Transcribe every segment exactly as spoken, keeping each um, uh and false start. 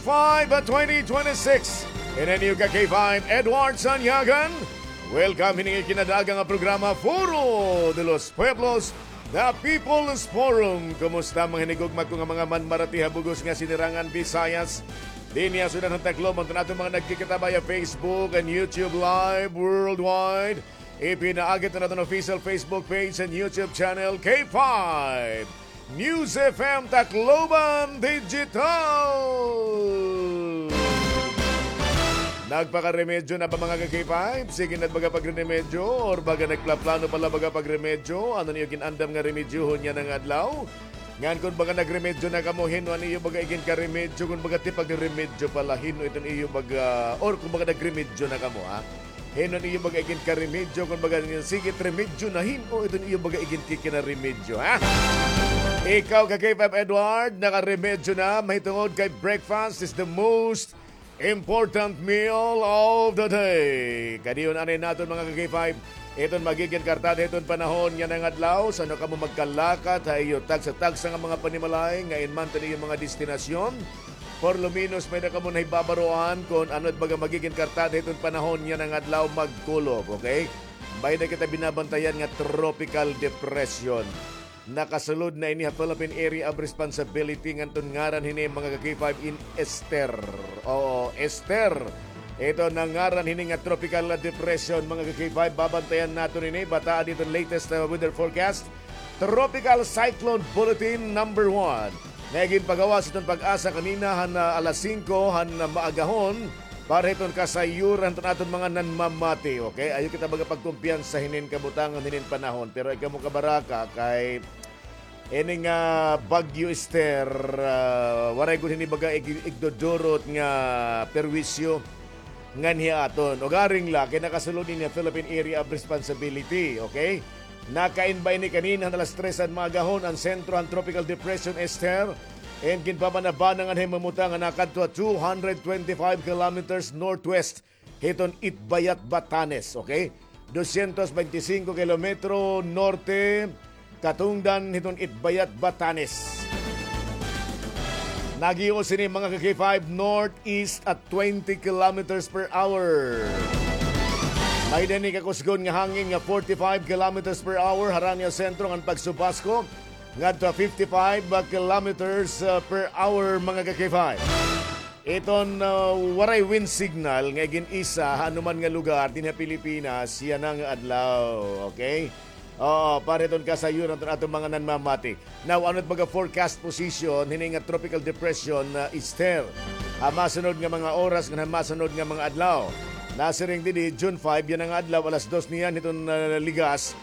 five twenty twenty-six. Ini an iyo ka K five, Edward Sanyagan. Welcome hini nga ikinadaaga nga programa, Foro de los Pueblos, The People's Forum. Kumusta mga hinigugma ko nga mga manmarati ha bug-os nga sinirangan Visayas? Dinhi ha syudad han Tacloban, an aton mga nagkikita via Facebook and YouTube Live worldwide. Ipinaagi an aton official Facebook page and YouTube channel, K five News F M Tacloban Digital. Nagpakaremedyo na ba, mga ka-K five? Sige na baga pagremedyo, or baga nagplaplano pa la baga pagremedyo? Ano an iyo gin-andam nga remedyohon yana nga adlaw? Ngan kon baga nagremedyo na kamo, hin-o an iyo baga iginkaremedyo? Kon baga tipagremedyo pa la, hin-o iton iyo baga, or kon baga nagremedyo na kamo, ha? Hin-o an iyo baga iginkaremedyo? Kon baga, sige it remedyo na, hin-o iton iyo baga iginkikinaremedyo, ha? Ikaw, ka-K five Edward, nakaremedyo na, mahitungod kay breakfast is the most important meal of the day. Kadi yon anay naton, mga ka-K five, iton magigin kartada hiton panahon yana nga adlaw. San-o kamo magkalakat ha iyo tagsa-tagsa nga mga panimalay, ngain man it iyo mga destinasyon? Por lo menos, may-ada kamo nahibabaroan kon ano it baga magigin kartada hiton panahon yana nga adlaw, magkulob, okay? May-ada kita binabantayan nga tropical depression. Nakasulod na ini ha Philippine Area of Responsibility, ngan iton ngaran hini, mga ka-K five, in Ester. Oo, Ester. Iton ngaran hini nga tropical depression, mga ka-K five, babantayan naton ini. Bataa dida iton latest, uh, weather forecast. Tropical Cyclone Bulletin number one. Nga ginpagawas hiton PAGASA kanina han, ah, alas singko han, ah, maagahon para hiton kasayuran hiton aton mga nanmamati. Okay? Ayaw kita baga pagkumpiyansa hinin kabutangan, hinin panahon. Pero ay kamo kabaraka kay ini nga Bagyo Ester, ah, waray gud hini baga ig-, igdudurot nga perwisyo nganhi ha aton. Ugaring la kay nakasulod ini ha Philippine Area of Responsibility, okay? Nakain ba ini kanina han alas tres han maagahon an sentro han Tropical Depression Ester, and ginpabanabana nganhi mamutang nga nakadto ha two hundred twenty-five kilometers northwest hiton Itbayat, Batanes, okay? Dosyentos bente singko kilometro norte katungdan hiton Itbayat, Batanes. Nag-ios ini, mga ka-K five, northeast at twenty kilometers per hour. May-ada ini kakusgon nga hangin nga forty-five kilometers per hour harani ha sentro ngan pagsubasko ngadto ha fifty-five kilometers per hour, mga ka-K five. Iton, ah, waray wind signal nga igin-isa ha anuman nga lugar dinhi ha Pilipinas yana nga adlaw. Okay? Oo, para hiton kasayuran hiton aton mga nanmamati. Now, ano it baga forecast position hini nga tropical depression, ah, Ester? Ha masunod nga mga oras ngan ha masunod nga mga adlaw. Nasiring didi, June five yana nga adlaw, alas dos niyan hiton, ah, ligas.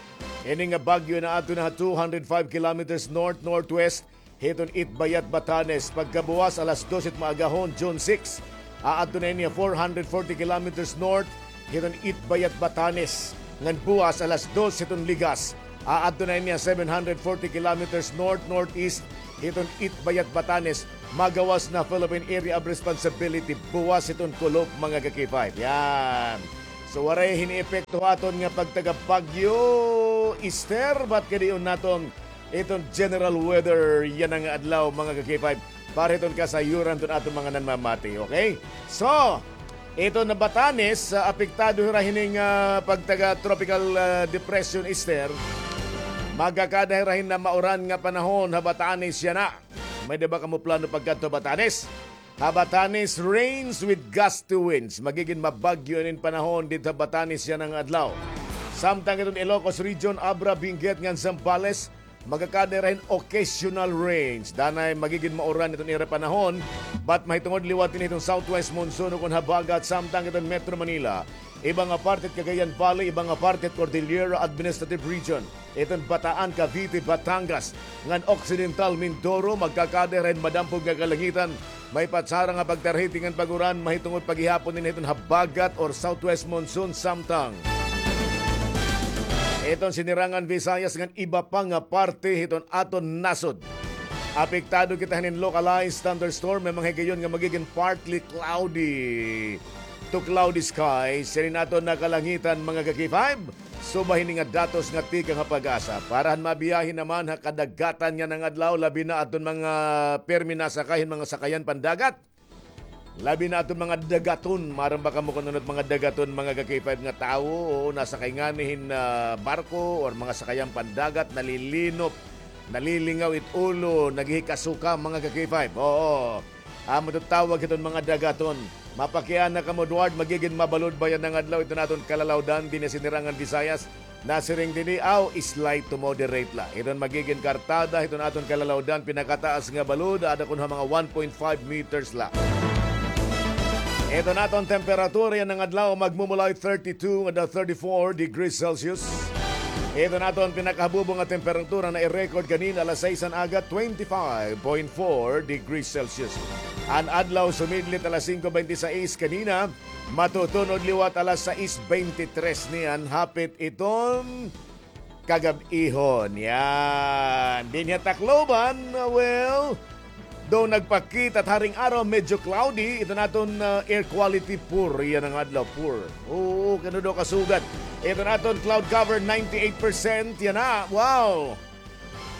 Ini nga bagyo naadto na ha two hundred five kilometers north-northwest hiton Itbayat, Batanes. Pagkabuwas alas dos it maagahon, June six, aadto na ini ha four hundred forty kilometers north hiton Itbayat, Batanes. Ngan buwas alas dos hiton ligas, aadto na ini ha seven hundred forty kilometers north-northeast hiton Itbayat, Batanes. Magawas na Philippine Area of Responsibility buwas hiton kulop, mga ka-K five. Yan. So, waray hini epekto ha aton nga pagtaga Bagyo Ester, but kadi yon naton iton general weather yana nga adlaw, mga ka-K five, para hiton kasayuran hiton aton mga nanmamati, okay? So, iton Batanes, ah, apektado hira hining, ah, pagtaga tropical, ah, depression, Ester. Magkakada hira hin mauran nga panahon ha Batanes yana. May-ada ba kamo plano pagkadto ha Batanes? Ha Batanes, rains with gusty winds. Magigin mabagyo inin panahon didto ha Batanes yana nga adlaw. Samtang iton Ilocos Region, Abra, Benguet ngan Zambales, magkakada hira hin occasional rains. Danay magigin mauran iton ira panahon, but mahitungod liwat ini hiton southwest monsoon ukon habagat, samtang iton Metro Manila, iba nga parte hit Cagayan Valley, iba nga parte hit Cordillera Administrative Region, iton Bataan, Cavite, Batangas, ngan Occidental Mindoro, magkakada hira hin madampog nga kalangitan. May patsara nga pagtarhiti ngan pag-uran mahitungod pa gihapon ini hiton habagat or southwest monsoon, samtang iton Sinirangan Visayas ngan iba pa nga parte hiton aton nasod. Apektado kita hinin localized thunderstorm, may mga higayon nga magigin partly cloudy to cloudy skies hinin aton kalangitan, mga ka-K five. Suba hini nga datos nga tikang ha PAGASA. Para han mabiyahe naman ha kadagatan yana nga adlaw, labi na adton mga pirmi nasakay hin mga sakayan pandagat, Labi na aton mga dagaton, maaram ba kamo kun ano it mga dagaton, mga ka-K five, nga tawo? Oo, nasakay ngani hin, ah, barko or mga sakayan pandagat, nalilinop, nalilingaw it ulo, naghihikasuka, mga ka-K five. Oo. Amo ito tawag hiton mga dagaton. Mapakiana kamo, Edward, magigin mabalod ba yana nga adlaw iton aton kalalawdan dinhi ha Sinirangan Visayas? Nasiring dinhi, aw, slight to moderate la. Iton magigin kartada hiton aton kalalawdan, pinakataas nga balod, aada kuno ha mga one point five meters la. Iton aton temperatura yana nga adlaw, magmumulay thirty-two ngadto thirty-four degrees Celsius. Iton aton pinakahabubo nga temperatura na-record kanina alas sais han aga, twenty-five point four degrees Celsius. An adlaw sumidlit alas singko bente sais kanina, matutunod liwat alas sais bente tres niyan, hapit iton kagab-ihon. Yan. Dinhi ha Tacloban, well, daw nagpakita it haring araw, medyo cloudy. Iton aton, ah, air quality, poor yana nga adlaw, poor. Oo, kay ano daw kasugad. Iton aton cloud cover, ninety-eight percent. Yana, wow.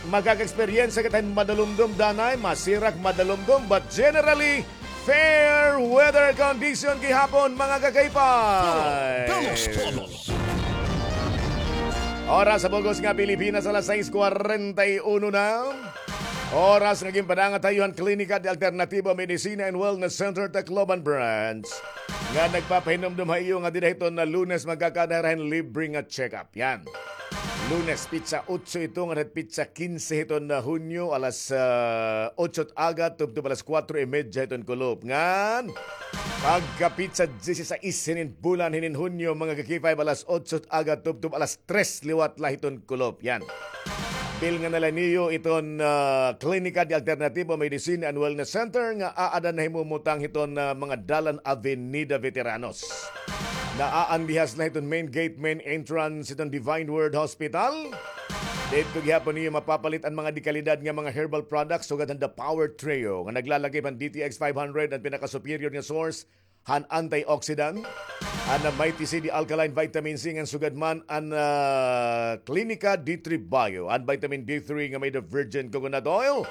Makaka-eksperyensya kita hin madalumdom, danay, masirak, madalumdom, but generally, fair weather condition gihapon, mga ka-K five. Puro Velos Todo. Oras ha bug-os nga Pilipinas, alas sais kwarenta y uno na. Oras nga ginpadangat ha iyo han Klinika de Alternativo Medicina and Wellness Center, Tacloban Branch, nga nagpapahinumdom ha iyo nga dida hiton Lunes magkakaada hira hin libre nga check-up. Yan. Lunes, petsa otso ito, ngadto ha petsa kinse hiton, ah, Hunyo, alas, ah, otso it aga, tubtob alas kuwatro y medya hiton kulop. Ngan, pagka petsa diyesisais hinin bulan hinin Hunyo, mga ka-K five, alas otso it aga, tubtob alas tres liwat la hiton kulop. Yan. Bilngan na la niyo iton, ah, Klinika de Alternativo Medicine and Wellness Center nga aada nahimumutang hiton, ah, mga dalan Avenida Veteranos. Naaan dihas la hiton main gate, main entrance hiton Divine Word Hospital. Didto gihapon niyo mapapalit an mga dekalidad nga mga herbal products sugad han The Power Trio nga naglalakip han D T X five hundred, an pinaka-superior nga source han antioxidant, an Mighty C D Alkaline Vitamin C, ngan sugad man an, ah, Klinika D three Bio, an vitamin D three nga made of virgin coconut oil.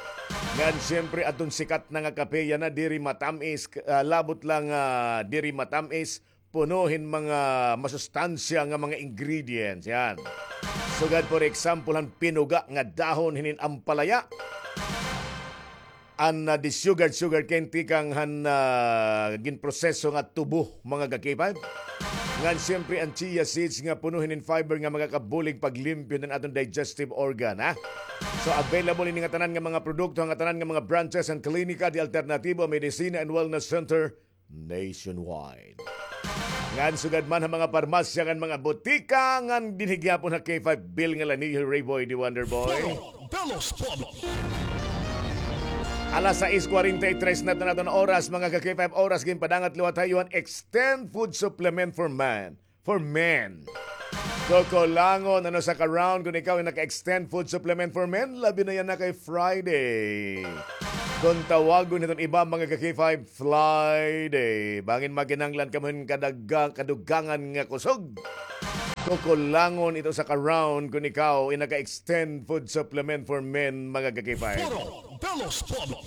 Ngan siyempre, adton sikat na nga kape, yana, diri matamis, ah, labot la nga, ah, diri matamis, puno hin mga masustansya nga mga ingredients. Yan. Sugad, for example, han pinuga nga dahon hinin ampalaya, an, ah, desugared sugarcane tikang han, ah, ginproseso nga tubo, mga ka-K five. Ngan siyempre an chia seeds nga puno hinin fiber nga makakabulig paglimpyo han aton digestive organ, ha? So, available ini nga tanan nga mga produkto han tanan nga mga branches han Klinika de Alternativo Medicina and Wellness Center nationwide. Ngan sugad man ha mga parmasya ngan mga butika ngan dinhi gihapon ha K five, bilngan la niyo, Rayboy the Wonder Boy. Puro Velos Todo. Alas sais kwarenta y tres na iton aton oras, mga ka-K five, oras ginpadangat liwat ha iyo han Extend Food Supplement for Man. For men. Kukulangon, ano, sa ka-round kun ikaw ay naka-extend food supplement for men, labi na yana kay Friday. Kun tawagon hiton iba, mga ka-K five, Fly Day. Bangin makinahanglan kamo hin kadagga-, kadugangan nga kusog. Kukulangon ito sa ka-round kun ikaw ay naka-extend food supplement for men, mga ka-K five. Puro Velos Todo.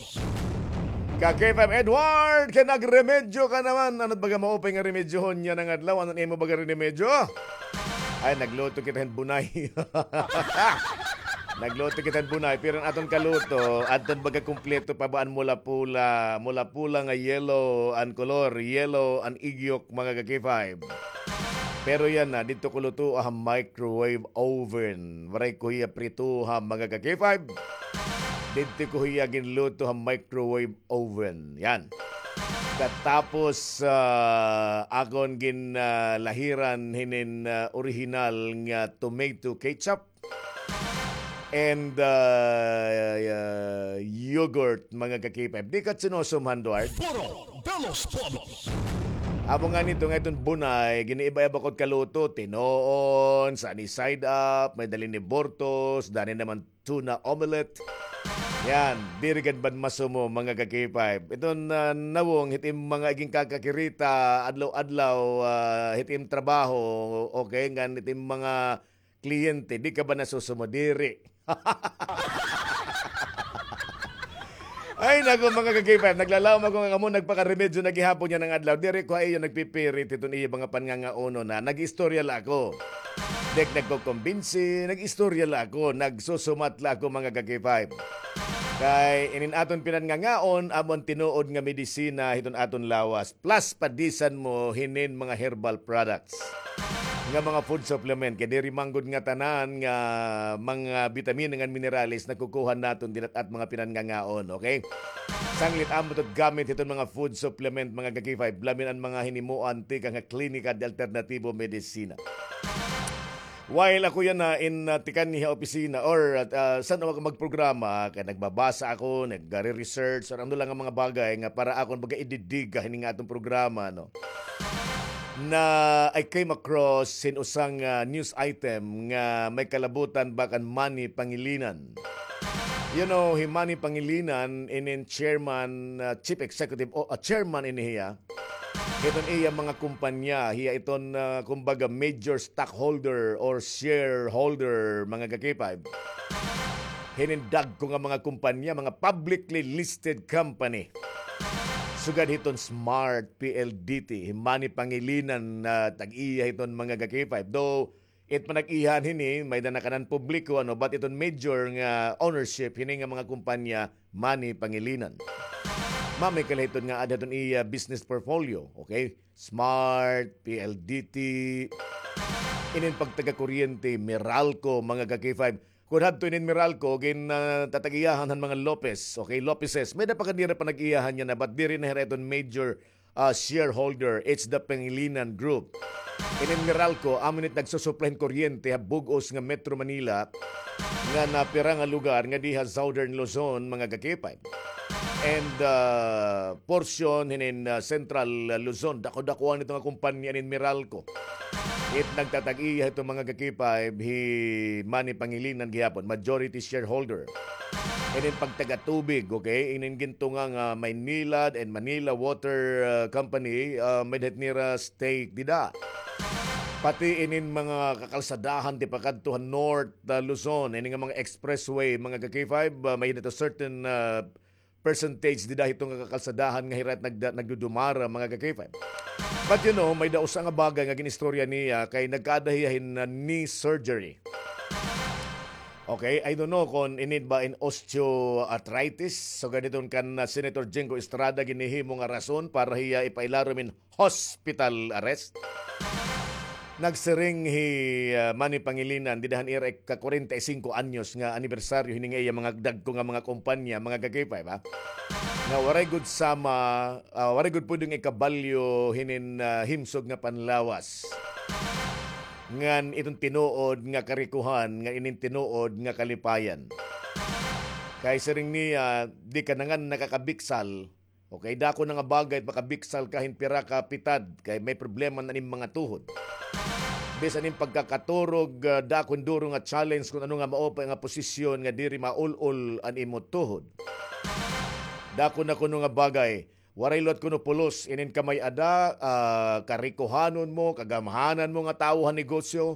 Ka-K five Edward, kay nagremedyo ka naman. Ano it baga maupay nga remedyohon yana nga adlaw? Ano it imo baga remedyo? Ay, nagluto kita hin bunay. Nagluto kita hin bunay, pero an aton kaluto, adton baga kumpleto pa ba an mula-pula, mula-pula nga yellow an kolor, yellow an igyok, mga ka-K five. Pero yana, didto ko lutoa ha microwave oven. Waray ko hiya pritoha, mga ka-K five. Didto ko hiya ginluto ha microwave oven. Yan. Katapos, ah, akon gin, ah, lahiran hinin, ah, orihinal nga tomato ketchup and, ah, ah, yogurt, mga ka-K five. Di ka sinusumhan, Duard? Puro Velos Todo. Amo ngani ito nga iton bunay, giniiba-iba ko it kaluto, tinuon, sunny side up, may dali ni burtos, dani naman tuna omelette. Yan, diri gad man masumo, mga ka-K five. Iton, ah, nawong, hit im mga igin kakakirita, adlaw-adlaw, ah, hit im trabaho, okay, ngan hit im mga kliyente, di ka ba nasusumo? Diri. Ay, naku, mga ka-K five, naglalawom ako nga kamo nagpakaremedyo na gihapon yana nga adlaw. Diri ko ha iyo nagpipirit hiton iyo mga panngangaon, ha. Nag-istorya la ako. Diri nagkokombinsi, nag-istorya la ako, nagsusumat la ako, mga ka-K five. Kay inin aton pinanngangaon, amo an tinuod nga medisina hiton aton lawas. Plus, padisan mo hinin mga herbal products nga mga food supplement. Kay diri man gud nga tanan nga mga bitamina ngan minerales nakukuha naton dida hit mga pinanngangaon, okay? Sanglit amo ito gamit hiton mga food supplement, mga ka-K five, labi na an mga hinimuan tikang ha Klinika de Alternativo Medicina. While ako yana in, ah, tikang ha opisina or, ah, san-o ako magprograma, kay nagbabasa ako, nagre-research, or ano la nga mga bagay nga para akon baga ididiga hini nga aton programa, no? Na I came across hin usa nga, ah, news item nga may kalabutan ba kan Manny Pangilinan. You know, hi Manny Pangilinan, inin chairman, ah, chief executive, o, ah, chairman ini hiya hiton iya mga kumpanya, hiya iton, ah, kumbaga, major stockholder or shareholder, mga ka-K five. Hinin dagko nga mga kumpanya, mga publicly listed company. Sugad hiton Smart P L D T, hi Manny Pangilinan, ah, tag-iya hiton, mga ka-K five. Though, it panag-iyahan hini, may-ada na kanan publiko, ano, but iton major nga ownership hini nga mga kumpanya, Manny Pangilinan. Mamay ka la hiton nga aada hiton iya business portfolio, okay? Smart, P L D T, inin pagtagakuryente, Meralco, mga ka-K five. Kun hadto inin Meralco, gin, ah, tatag-iyahan han mga Lopez, okay? Lopezes. May-ada pa kanira panag-iyahan yana, but diri na hira iton major ah, shareholder, it's the Pangilinan Group. Inin Meralco, amo ini it nagsusuplay hin kuryente ha bug-os nga Metro Manila, nga napira nga lugar nga dinhi ha Southern Luzon, mga ka-K five. And, ah, portion hinin, ah, Central, ah, Luzon, dako-dakuan ito nga kumpanya inin Meralco. It nagtatag-iya hito, mga ka-K five, hi Manny Pangilinan gihapon, majority shareholder. Inin pagtagatubig, okay? Inin gintunga nga Maynilad and Manila Water, ah, Company, ah, may-ada hit nira stake dida. Pati inin mga kakalsadahan tipakadto ha North, ah, Luzon, ini nga mga expressway, mga ka-K five, ah, may-ada hito certain, ah, percentage dida hito nga kakalsadahan nga hira it nagda-, nagdudumara, mga ka-K five. But you know, may-ada usa nga bagay nga gin-istorya niya kay nagkaada hiya hin, ah, knee surgery. Okay, I don't know kon ini ba in osteoarthritis. So, ganiton kan, ah, Senator Jinggo Estrada ginhihimo nga rason para hiya ipailarom in hospital arrest. Nagsiring hi, ah, Manny Pangilinan, dida han ira ika-kwarenta y singko anyos nga anibersaryo hini nga iya mga dagko nga mga kumpanya, mga ka-K five, ha? Nga waray gud sama, ah, waray gud pwedeng ikabalyo hinin, ah, himsog nga panlawas. Ngan iton tinuod nga karikohan, ngan inin tinuod nga kalipayan. Kay siring niya, di ka na ngan nakakabiksal, okay, dako na nga bagay it makabiksal ka hin pira ka pitad, kay may problema na an im mga tuhod. Bisan im pagkakaturog, ah, dako hin duro nga challenge kon ano nga mao pa nga posisyon nga diri maul-ol an imo tuhod. Dako na kuno nga bagay, waray liwat kuno pulos, inin ka may-ada, ah, karikohanon mo, kagamhanan mo nga tawo ha negosyo.